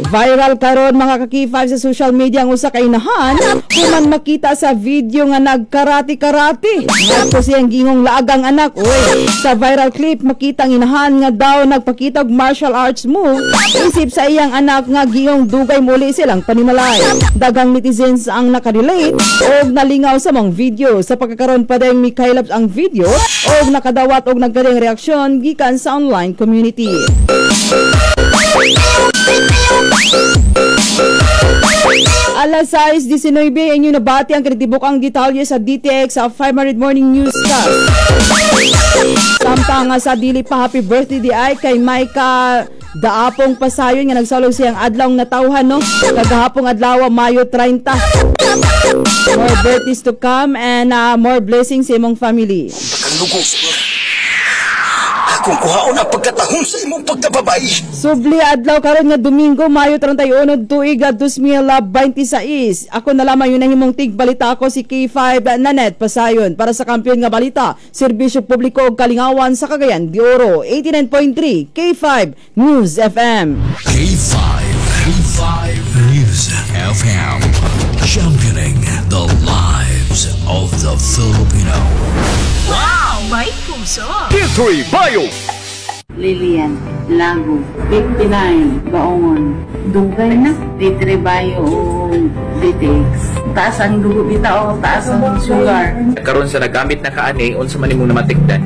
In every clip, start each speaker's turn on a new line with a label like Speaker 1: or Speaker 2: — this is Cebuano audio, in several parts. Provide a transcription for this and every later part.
Speaker 1: Viral karon, mga ka-K5, sa social media ang usa ka inahan human makita sa video nga nagkarati-karate. Tapos iyang giingong laagang anak. Uy, sa viral clip makita ang inahan nga daw nagpakita og martial arts move isip sa iyang anak nga giingong dugay muli silang panimalay. Daghang netizens ang nakarelate og nalingaw sa mga video. Sa pagkakaroon pa din mikaylap ang video og nakadawat og nagkaring reaksyon gikan sa online community. Alas 6:19, inyo nabati ang kinatibuk-ang detalye sa DTX sa 500 Morning Newscast. Samtang nga sa dili pa, happy birthday di ay kay Maika Daapong Pasayon nga nagsalog siyang adlaw natawhan, no, kagahapong adlaw, Mayo 30. More birthdays to come and more blessings sa imong family.
Speaker 2: Kalugos. Akong kuhaon ang pagkatahong sa imong pagkababay.
Speaker 1: Subli adlaw karon nga Domingo, Mayo 31, tuig 2026. Ako na lamang yun ang himong tigbalita, ako si K5 Nanet Pasayon para sa kampiyon nga balita, serbisyo publiko ug kalingawan sa Cagayan de Oro, 89.3 K5 News FM.
Speaker 3: K5, K5 News FM. Championing the lives of the Filipino.
Speaker 4: May puso.
Speaker 2: D3 Bio.
Speaker 5: Lilian Lago, 59, Baongon. Dugay na, D3 Bio o DTX. Taas ang dugo bitaw, taas ang sugar.
Speaker 6: Karon sa nagamit na kaani, unsa man imong namatikdan?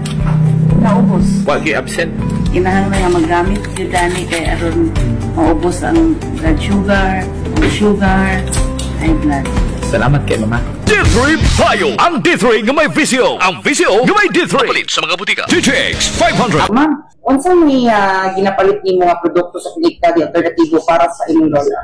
Speaker 5: Naubos.
Speaker 6: Wa gyud absent.
Speaker 5: Kinahanglan nga magamit gyud ani kay aron maubos ang blood sugar, sugar, high blood.
Speaker 6: Salamat kay mama.
Speaker 2: D3 Bio. Ang D3 nga may VCO. Ang VCO nga may D3. Palit sa mga butika. DTX 500.
Speaker 7: Ma'am, unsa may ginapalit nimo nga produkto sa Klinika di Alternatibo para sa imong lola?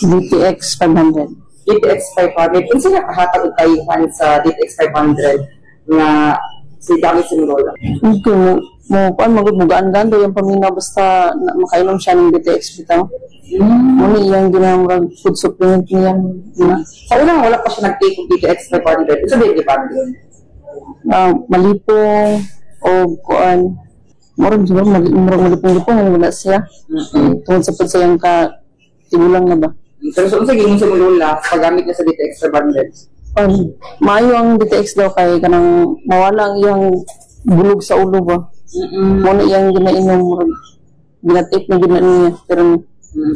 Speaker 5: DTX 500.
Speaker 7: DTX 500. Unsa nakahatag og kayuhan sa DTX 500 nga si gamit sa imong lola?
Speaker 8: Ito mo mo kuan magud, mugaan-gaan daw yung paminaw basta na, makainom siya ng DTX bitaw. Mo ni iyang ginamurag food supplement niya na.
Speaker 7: Sa una wala pa siya nag-take og DTX 500. Unsa ba yung gibati?
Speaker 8: Malipong o kuan, murag siguro murag malipong-lipong ano wala siya. Tungod sa pud sa iyang ka tigulang na ba.
Speaker 7: Pero so, unsa giingon sa imong lola sa paggamit niya sa DTX 500?
Speaker 8: Kuan, maayo ang DTX daw kay kanang mawala ang iyang bulog sa ulo ba. Mo na iyang ginainom, murag ginatip na gina niya pero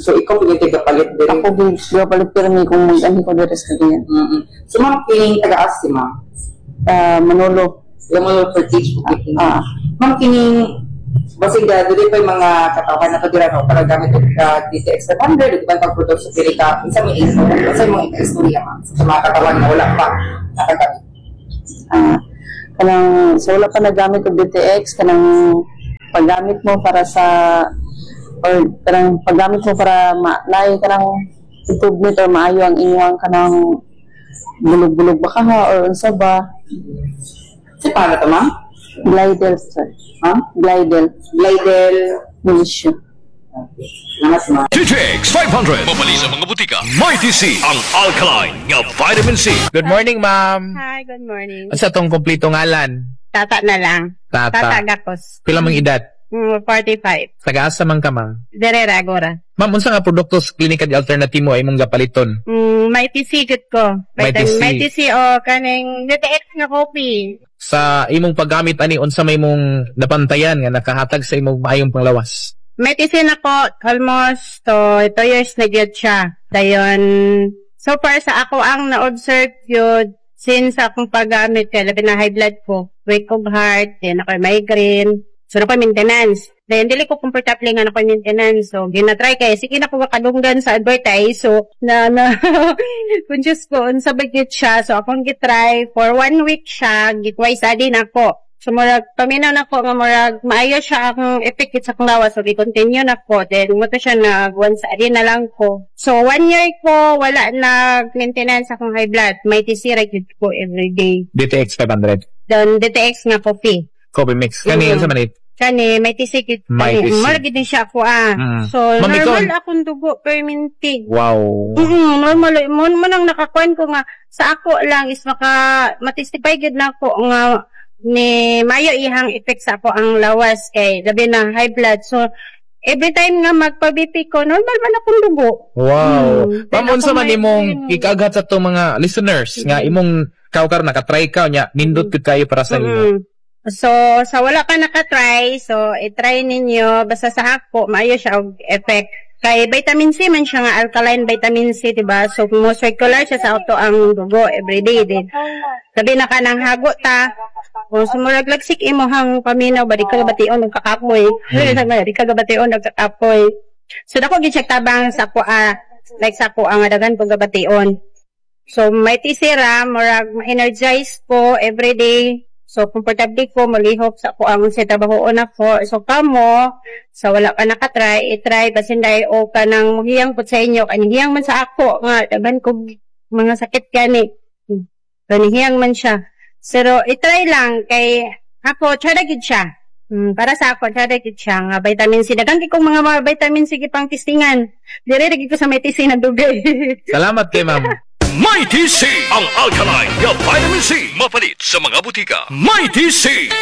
Speaker 7: So ikaw pud yung tigapalit diri.
Speaker 8: Ako gyud palit pero mi kung mag-anhi ko diri sa Cagayan.
Speaker 7: So ma'am, kining taga-as si ma'am?
Speaker 8: Manolo.
Speaker 7: Yung mga for teach.
Speaker 8: Ah.
Speaker 7: Ma'am, kining basig dili pa yung mga katawhan na to dira, no, para gamit og DTX 500 ug uban pang produkto sa Klinika. Unsa may imo? Unsa imong istorya, ma'am, sa mga katawan na wala pa nakagamit?
Speaker 8: Kanang sa wala pa nagamit og DTX, kanang paggamit mo para sa or kanang paggamit mo para ma naay kanang improvement or maayo ang inyong kanang bulog-bulog ba ka ha or unsa ba.
Speaker 7: Si paano to, ma'am?
Speaker 8: Glidel, sir.
Speaker 7: Ma'am?
Speaker 8: Glidel.
Speaker 7: Glidel.
Speaker 8: Militia.
Speaker 7: Okay. Salamat, ma'am.
Speaker 2: DTX 500. Mabali sa mga butika. Mighty C. Ang alkaline nga vitamin C.
Speaker 6: Good morning, ma'am.
Speaker 9: Hi, good morning.
Speaker 6: Unsa tong kompleto ngalan?
Speaker 9: Tata na lang.
Speaker 6: Tata.
Speaker 9: Tata Gakos.
Speaker 6: Pila mong edad?
Speaker 9: 45.
Speaker 6: Taga-asa man ka, ma'am?
Speaker 9: Derera, Agora.
Speaker 6: Ma'am, unsa nga produkto sa Klinika di Alternatibo ay imong gapaliton?
Speaker 9: Mighty C gud ko.
Speaker 6: Mighty C.
Speaker 9: Mighty C o kaning DTX nga coffee.
Speaker 6: Sa imong paggamit ani, unsa may imong napantayan nga nakahatag sa imong maayong panglawas?
Speaker 9: Mighty C na ko almost to 2 years na gyud siya. Dayon, so far sa ako ang na-observe yun since akong paggamit kay labi na high blood ko, weak of heart, then ako migraine. So, ako maintenance. Then, dili ko komportable nga ako maintenance. So, ginatry kay sige na ko makadunggan sa advertise. So, na, conscious ko, unsa ba gyud siya. So, akong gitry for one week siya, gitwice a day na ako. So, murag, paminaw na ko nga murag, maayo siya akong effect sa akong lawas. So, gi-continue na ko. Then, mo to siya nag once a day na lang ko. So, one year ko, wala nag-maintenance akong high blood. May TC ra gyud ko every day.
Speaker 6: DTX 500.
Speaker 9: Then, DTX nga coffee.
Speaker 6: Coffee mix. Kani unsa man it?
Speaker 9: Kani, may TC gyud.
Speaker 6: May
Speaker 9: Kani,
Speaker 6: TC.
Speaker 9: murag gyud siya ako ah. So,
Speaker 6: Ma'am,
Speaker 9: normal akong dugo, perminti. Normal. Mo nang nakakuan ko nga, sa ako lang is maka, matestify gyud na ako nga ni mayo ihang effect sa ako ang lawas kay labi na high blood. So, Every time nga magpa-BP ko, normal man akong dugo.
Speaker 6: Ma'am,
Speaker 9: Then
Speaker 6: unsa
Speaker 9: ako
Speaker 6: man
Speaker 9: may-
Speaker 6: imong ikaaghat sa atong mga listeners nga imong kaw karon nakatry ka nya, nindot gud kayo para sa imo?
Speaker 9: So, sa wala pa nakatry, so, i-try ninyo. Basta sa ako, maayo siya og effect. Kay vitamin C man siya nga alkaline vitamin C, diba? So, mo circular siya sa ato ang dugo everyday din. Sabi na ka ng hago ta, kung sumurag lagsik imo hang paminaw, ba di ka gabation nagkakapoy. Di ka gabation nagkakapoy. So, dako gid siya tabang sa kuha, like sa kuha nga daghan kong gabation. So, may tisira, murag ma-energize ko everyday. So, komportable ko, malihok sa ko ang sa trabahoon ako. So, kamo, sa wala ka nakatry, i-try, basin dahil o ka nang hiyang po sa inyo, kanihiyang man sa ako, nga, daghan ko mga sakit gani. Kanihiyang man siya. Pero, i-try lang, kay ako, tsada gid siya. Para sa ako, tsada gid siya nga vitamin C. Daghan kay kong mga vitamin C pang testingan. Dire ra gid ko sa may testing na dugay.
Speaker 6: Salamat kay ma'am.
Speaker 2: Mighty C, ang alkaline nga vitamin C. Mapalit sa mga butika. Mighty C.